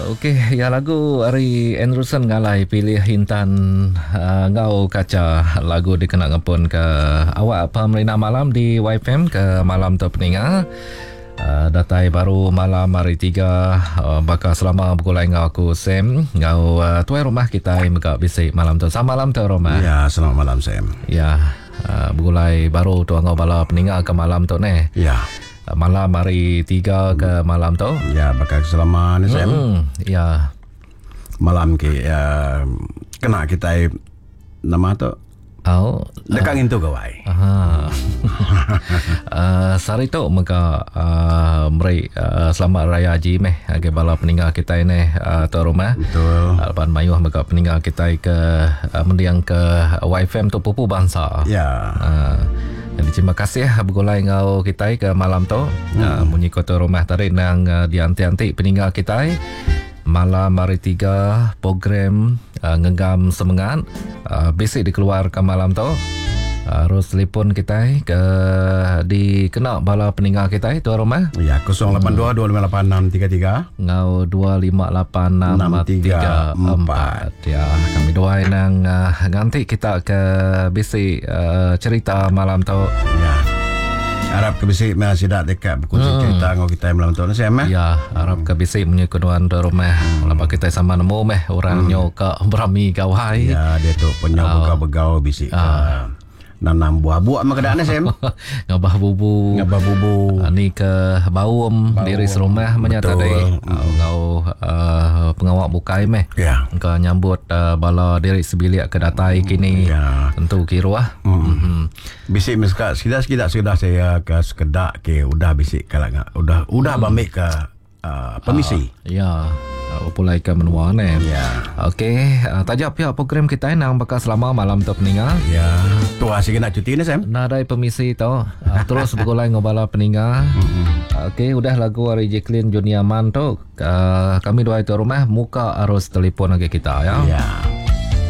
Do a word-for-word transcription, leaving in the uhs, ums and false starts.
Okey, ya lagu ari Anderson Ngalai pilih Intan uh, ngau kaca lagu dikena ngepun ke awak pemerintah malam di Y F M ke malam tu peninga. Uh, datai baru malam hari tiga uh, bakal selama bergulai ngau aku Sam ngau uh, tuai rumah kita mega bisi malam tu. Selamat malam tuai rumah. Ya, selamat malam Sam. Ya, uh, bergulai baru tu ngau bala peninga ke malam tu neh. Ya. Uh, malam hari tiga ke malam tu. Ya, bakal selama ni Sam. Hmm, ya. Malam ke uh, kena kita nama tu Oh, dekat uh, ngintu gawai. Aha. uh, sehari tu mega uh, meri uh, selamat raya haji meh agi bala peninggal kita ni uh, tu rumah. Betul. Uh, lepas mayuh mega peninggal kita ke uh, mendiang ke Y F M tu pupu bangsa. Ya. Uh, jadi terima kasih bergulai ngau kita ke malam tu. Hmm. Uh, munyi kota rumah tadi nang uh, dianti-anti peninggal kita. Malam hari tiga program uh, ngegam semangat uh, basic dikeluarkan malam tu. Harus uh, telefon kita ke dikena bala peninggal kita itu rumah. Ya, kosong lapan dua dua lima lapan enam tiga tiga ngau dua lima lapan enam tiga empat. Ya, kami dua nang uh, nganti kita ke basic uh, cerita malam tu. Ya. Harap ke bisi masih dak dekat berkongsi hmm. cerita ngau kita malam tu Sam eh. Ya, harap ke bisi menyekunuan di rumah. Hmm. Lepas kita sama nemu meh orang hmm. nyo ke berami gawai. Ya, dia tu penyau uh, begau-begau bisi ke uh. nanam buah-buah mah keadaan Sam. Ngabah bubu. Ngabah bubu. Uh, ni ke baum, baum. Diri serumah menyata tadi. Uh, ngau uh, pengawak bukai meh. Ya. Ke nyambut uh, bala diri sebilik ke datai hmm. kini. Ya. Tentu kiruah. Hmm. Hmm. Bisik meskat sekedar sekedar saya ke sekedak ke udah bisik kalau udah udah hmm. bamik ke uh, permisi. Uh, ya. Uh, pulai ke menua ni. Ya. Okey, uh, tajak pihak program kita nang bakal selama malam tu peninga. Ya. Tu asyik nak cuti ni Sam. Nadai permisi tu. Uh, terus bergulai ngobala peninga. Okey, udah lagu ari Jacqueline Junior Man tu. Uh, kami dua itu rumah muka arus telefon lagi kita ya. Ya.